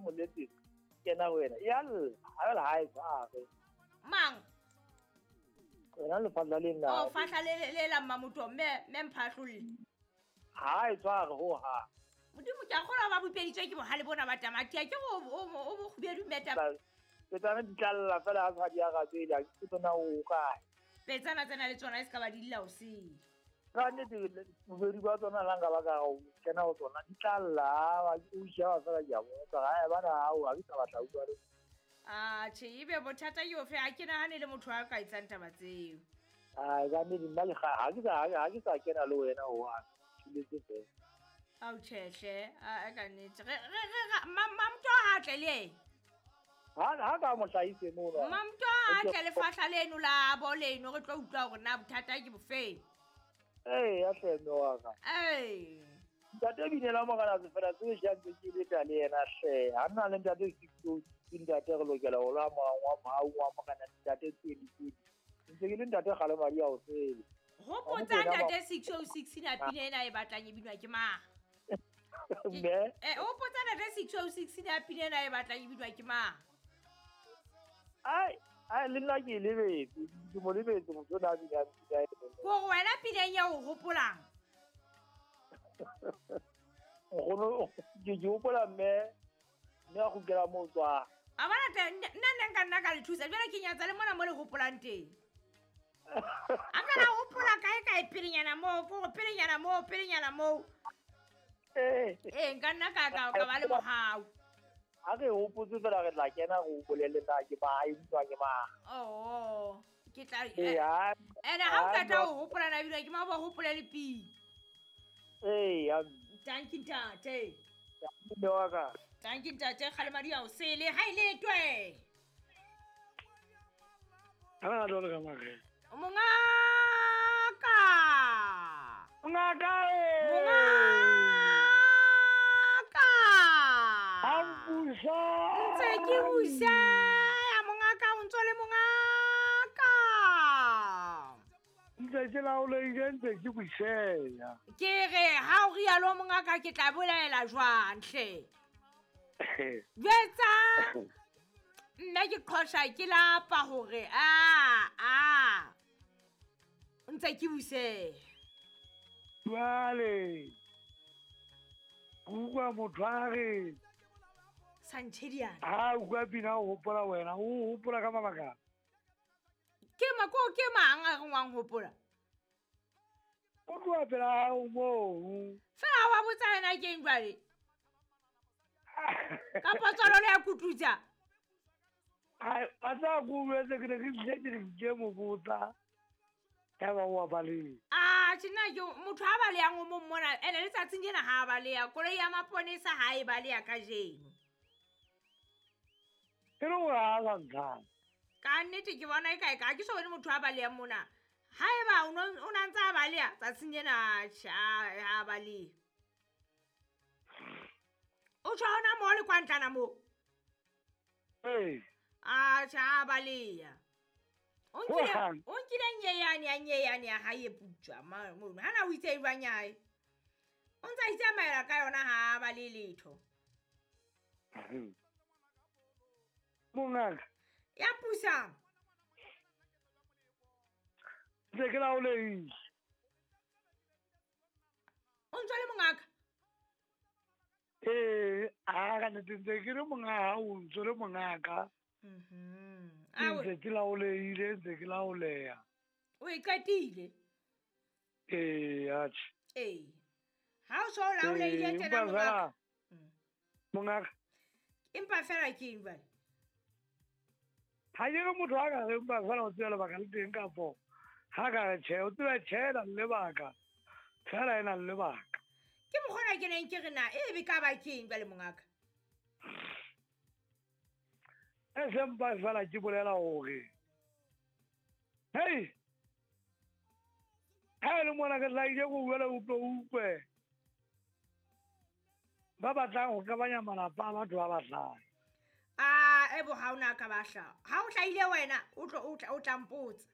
ke mo letsetsa kena ho wena ya lla ha la ha e tshware mang wena lefahla le nna o fahla le la mmamoto mme mphahlolle ha e tshware ho ha modimo ke a kgolwa ba bopeditswe ke bohale bona ba tamati a ke go o bokgubedu mmeta petsana di tlalla fela ha sa di arabele ha ke tsona o kae petsana tsena le tsona e se ka ba di lla o sele ka nnete bobedi ba tsona la nka ba ka o kena ho tsona di tlalla o sheba fela ke a botsa ha bana hao ha ke sa batla utlwa le a tjhe ebe bothata ke ofe ha ke nahane le motho a ka etsang taba tseo a ka nnete nna ha ke sa kena le wena ho a thuletse fela ao tjhehle a ka nnete re mamto ha tle le ha ka mo hlahise mono mamto ha tle le fahla leno la bo leno re tlo utlwa hore na bothata ke bofeng ee ya hle mme wa ka ee ntate binela morena sefela se jantse ke leta le yena hle ha nna le ntate ke ntate re lokela ho lwa wa mau wa morena ntate tswedi ntse ke le ntate kgale madi a o sele hopotsa ntate 606 na pina ena e batlang e binwa ke mang mme hopotsa ntate 606 na pina ena e batlang e binwa ke mang ai ai le nna ke lebetse ke mo lebetse motho na bina pina ko wena pineng ya o hopolang nkgono ke hopola mme a kgutlela mo tswa a bona nna nna nka nna ka le thusa jwale ke nyatsa le mona mo le hopolang teng a ka la hopola kae kae pelenyana moo ko pelenyana moo pelenyana moo ee nka nna ka ba le mohau ha re hopotse fela re tla kena go bolelle na ke ba e utlwa ke mang oh ke tla ene ha o qeta ho hopola na bile ke ma ba hopole le pina ee thank you ntate mme wa ka thank you ntate kgale madi a o sele ha ile twe ha lo ka mare mongaka mongaka mongaka ha busa ntse ke busa ya mongaka o ntso le mongaka ntse ke laoleile ntse ke buseya ke re ha o rialo mongaka ke tla bolaela jwang hle jwetsa nna ke qhosha ke lapa hore a ntse ke buseya jwale utlwa motho a re Sanchediana ha utlwa pina o hopola wena o hopola ka mabaka ke mako ke mang a reng wang hopola o tloha pela hao moo fela wa botsa yena ke eng jwale kapa tswalo le ya kututsa ai a tla ko jwetse ke ne ke tlile ke re ke mo botsa ya ba wa baleha a tjena ke motho ha balehang o mong mona ene letsatsing lena ha baleha koloi ya maponesa ha e baleha kajeno e le hore ha sa ntlhang ka nnete ke bona e kae ka ke so bone motho a balehang mona haeba o na ntse a baleha tsatsing lena ha baleha o tjho hona moo le kwa ntlana moo ee a tjha a baleha o nkile nyeyane ya hae e putswa mono hana o itse e jwang ya hae o ntse a itsamaela ka yona ha ba le letho mongaka ya pusang ntse ke laoleile o ntse le mongaka ee a ka nnete ntse ke le monga hao ntse le mongaka ntse ke laoleile ntse ke laoleya o e qetile ee atjhe ee ha o so laoleile tjena mongaka mongaka empa fela ke eng jwale ha ke re motho a ka re empa fela o tseba lebaka le teng kapo ha ka re tjhe o tseba tjhe e na le lebaka fela e na le lebaka ke mokgona ke neng ke re na e be ka ba ke eng jwale mongaka e sempa fela ke bolela hore hei ha e le mona ke tlaile go buela utlwe utlwe ba batlang ho qabanya malapa a batho ba batlang a ebo ha ona ka ba hla ha o hlaile wena o tlo o tla mpotsa